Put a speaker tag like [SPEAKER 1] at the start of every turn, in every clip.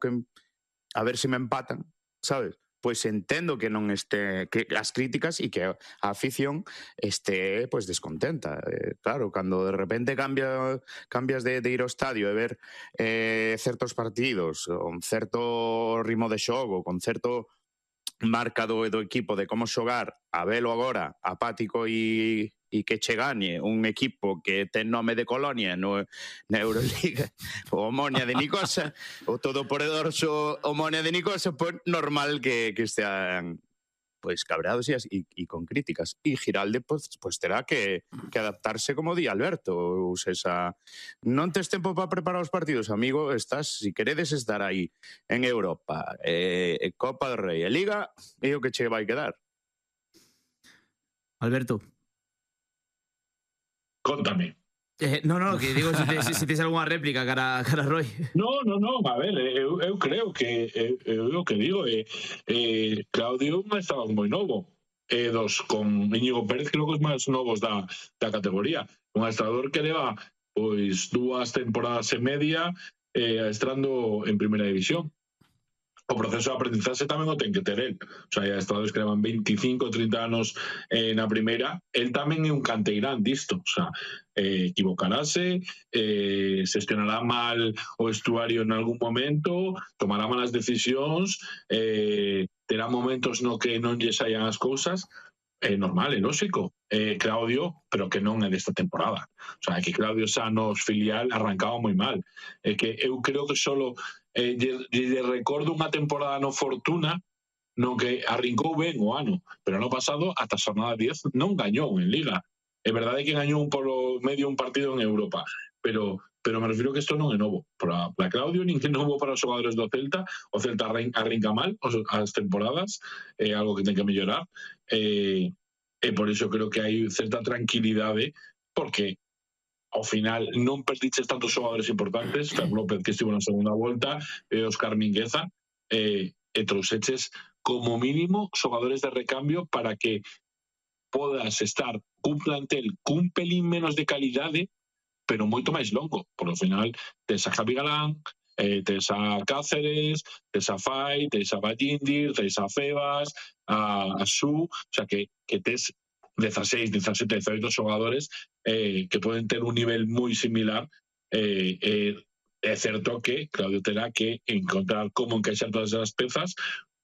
[SPEAKER 1] a ver se me empatan, sabes? Pois entendo que non este, que as críticas e que a afición este pois descontenta. Claro, cando de repente cambias de ir ao estadio e ver certos partidos, con certo ritmo de xogo, con certo marca do equipo de como xogar, a velo agora apático e que che gañe un equipo que ten nome de Colonia na Euroliga, o Omonia de Nicosia, o todopoderoso Omonia de Nicosia, pois normal que estean pois cabreados e con críticas. E Giralde pois terá que adaptarse, como di Alberto, ou seja, non tes tempo para preparar os partidos, amigo, estás, si queredes estar aí en Europa, Copa do Rei e Liga, é o que che vai quedar.
[SPEAKER 2] Alberto.
[SPEAKER 3] Contame.
[SPEAKER 2] No, que digo, se tes algunha réplica cara a Roy.
[SPEAKER 3] No, a ver, eu creo que o que digo Claudio estaba moi novo, dos con Íñigo Pérez, creo que os máis novos da categoría, un adestrador que leva pois 2 temporadas e media adestrando en primeira división. O proceso de aprendizaxe tamén o ten que ter el. O sea, hai adestradores que levan 25, 30 anos na primeira. El tamén é un canteirán disto. O sea, equivocarase, xestionará mal o vestuario en algún momento, tomará malas decisións, terá momentos no que non lle saian as cousas. É normal, é lógico. Claudio, pero que non é desta temporada. O sea, que Claudio xa nos filial arrancaba moi mal. É que eu creo que solo lle recordo unha temporada no Fortuna non que arrincou ben o ano, pero ano pasado ata a xornada 10 non gañou en Liga. É verdade que gañou polo medio un partido en Europa, pero me refiro que isto non é novo para Claudio, nin que é novo para os xogadores do Celta. O Celta arrinca mal as temporadas, é algo que ten que mellorar, e por iso creo que hai certa tranquilidade, porque ao final non perdiches tantos xogadores importantes, Fer López que estivo na segunda volta, Óscar Mingueza, e trouxeches como mínimo xogadores de recambio para que podas estar cun plantel cun pelín menos de calidade, pero moito máis longo, porque ao final tes a Javi Galán, tes a Cáceres, tes a Fai, tes a Vallindir, tes a Febas, a Su, o sea que tes 16, 17, 18 xogadores que poden ter un nivel moi similar. É certo que Claudio terá que encontrar como encaixar todas as pezas,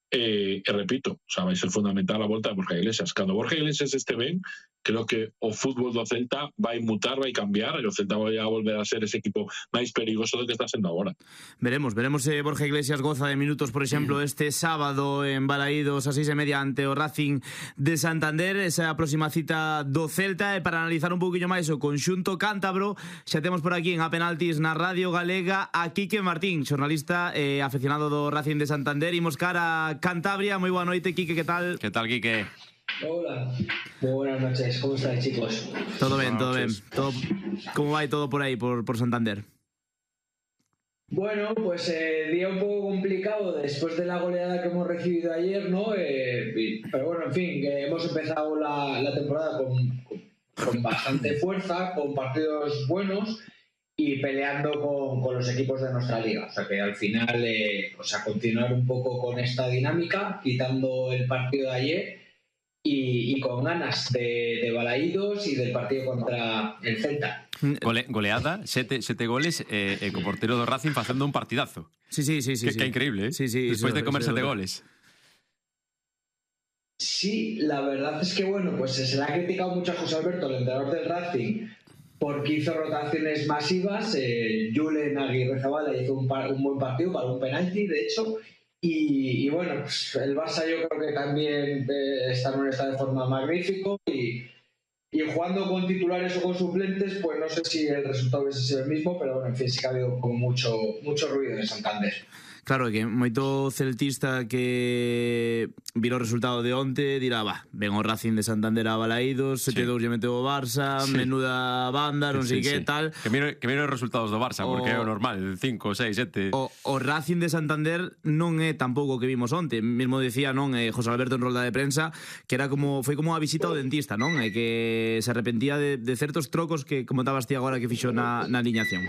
[SPEAKER 3] e repito, o sea, vai ser fundamental a volta de Borja Iglesias. Cando Borja Iglesias este ben, creo que o fútbol do Celta vai mutar, vai cambiar, e o Celta vai a volver a ser ese equipo máis perigoso do que está sendo agora.
[SPEAKER 2] Veremos se Borja Iglesias goza de minutos, por exemplo, este sábado en Balaídos a 6:30 ante o Racing de Santander, esa próxima cita do Celta. E para analizar un pouquinho máis o conxunto cántabro, xa temos por aquí en A Penaltis na Radio Galega a Quique Martín, xornalista e aficionado do Racing de Santander. Imos cara a Cantabria. Moi boa noite, Quique, que tal?
[SPEAKER 4] Que tal, Quique?
[SPEAKER 5] Hola, muy buenas noches, ¿cómo estáis, chicos?
[SPEAKER 2] Todo bien. ¿Cómo va todo por ahí, por Santander?
[SPEAKER 5] Bueno, pues día un poco complicado después de la goleada que hemos recibido ayer, ¿no? Pero bueno, en fin, que hemos empezado la temporada con bastante fuerza, con partidos buenos y peleando con los equipos de nuestra liga. O sea que al final, continuar un poco con esta dinámica, quitando el partido de ayer y con ganas de Balaídos y del partido contra el Celta.
[SPEAKER 4] Goleada, sete goles co portero do Racing facendo un partidazo.
[SPEAKER 2] Sí.
[SPEAKER 4] Que increíble, ¿eh?
[SPEAKER 2] Sí,
[SPEAKER 4] después de comer 7 goles.
[SPEAKER 5] Sí, la verdad es que bueno, pues se le ha criticado mucho a José Alberto, el entrenador del Racing, porque hizo rotaciones masivas. Julen Aguirre Zabala hizo un buen partido para un penalti, de hecho. Y bueno, pues el Barça yo creo que también está en un estado de forma magnífico y jugando con titulares o con suplentes, pues no sé si el resultado hubiese sido el mismo, pero bueno, en fin, sí que ha habido como mucho ruido en Santander.
[SPEAKER 2] Claro, que moito celtista que viro o resultado de onte dirá, ven o Racing de Santander a Balaídos, 7-2 lle meteu o Barça, menuda banda, non sei que tal.
[SPEAKER 4] Que miro os resultados do Barça, porque é o normal, 5, 6, 7.
[SPEAKER 2] O Racing de Santander non é tampouco o que vimos onte. Mesmo decía, non, José Alberto en rolda de prensa, que era foi como a visita ao dentista, non? E que se arrepentía de certos trocos que, como estabas ti agora, que fixo na aliñación.